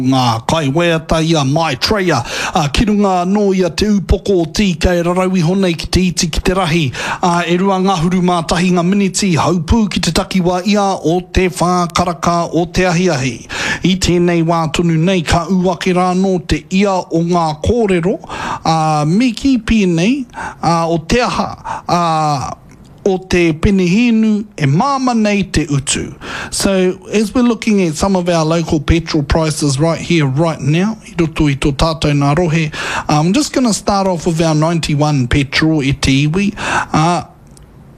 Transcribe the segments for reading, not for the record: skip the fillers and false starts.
Ngā kaiwaiata i a Maitreya, ā, ki runga anō i a Te Ūpoko o TK rarau iho nei ki te iti ki te rahi, ā, e 21 ngā miniti haupū ki te takiwā ia o te whā karaka o te ahiahi. I tēnei wā tonu nei ka ū ake rā anō te ia o ngā kōrero, ā, me kī pēnei, ā, o te aha, ā, o te penehīnu e māmā nei te utu. So, as we're looking at some of our local petrol prices right here, right now, i roto i tō tātou nā rohe, I'm just going to start off with our 91 petrol e te iwi. Uh,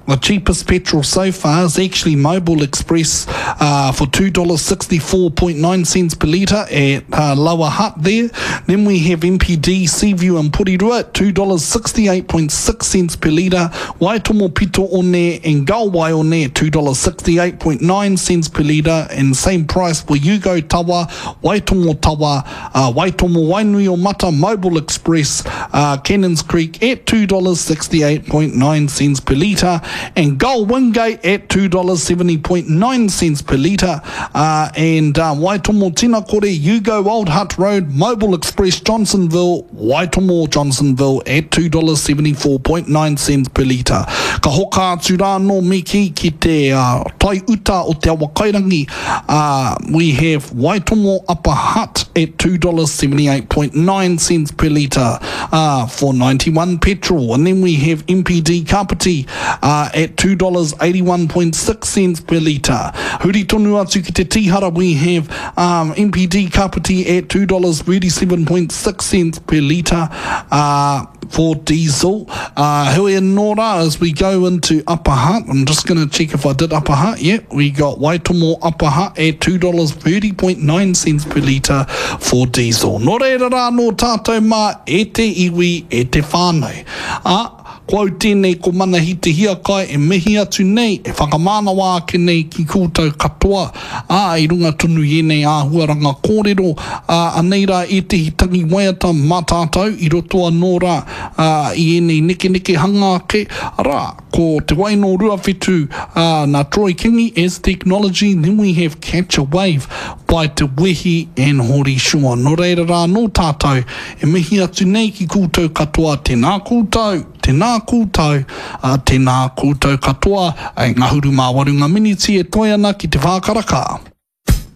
the cheapest petrol so far is actually Mobil Express uh, for $2.64.9 cents per litre at uh, Lower Hutt there. Then we have MPD Seaview and Porirua at $2.68.6 cents per litre. Waitomo Pito One and Gull Waione at $2.68.9 cents per litre and same price for Yugo Tawa, Waitomo Tawa, uh, Waitomo Wainui o Mata, Mobil Express, uh, Cannons Creek at $2.68.9 cents per litre and Gull Wingate at $2.70.9 cents per litre uh, and uh, Waitomo Tinakore, Yugo Old Hutt Road, Mobil Express, Johnsonville, Waitomo Johnsonville at $2.74.9 cents per litre. Ka hoka atu rā anō me kī ki te uh, tai uta o Te Awakairangi, uh, we have Waitomo Upper Hutt at $2.78.9 cents per litre uh, for 91 petrol. And then we have MPD Kapiti uh, at $2.81.6 cents per litre. Huri tonu atu ki te Tīhara, we have um, MPD Kapiti at $2.37.6 cents per litre uh, for diesel. Uh, heoi anō rā, as we go into Upper Hutt, I'm just going to check if I did Upper Hutt. Yep, we got Waitomo Upper Hutt at $2.30.9 cents per litre for diesel. Nō reira rā nō tātou mā e te iwi, e te whānau. A, Ko au tēnei ko Manahi Te Hiakai e mihi atu nei, e whakamānawa ake nei ki koutou katoa, ā, i runga tonu i ēnei āhuaranga kōrero, ā, anei rā ētehi tangi waiata mā tātou i roto anō rā, ā, i ēnei nekenekehanga ake, arā, ko Te Wai Nō Ruawhitu, ā, nā Troy Kingi as Technology, then we have Catch a Wave by Te Wehi and Hori Shaw. Nō reira rā anō tātou E mihi atu nei ki koutou katoa, tēnā koutou, tēnā koutou, ā, tēnā koutou katoa, e ngahuru mā waru ngā miniti e toe ana ki te whā karaka.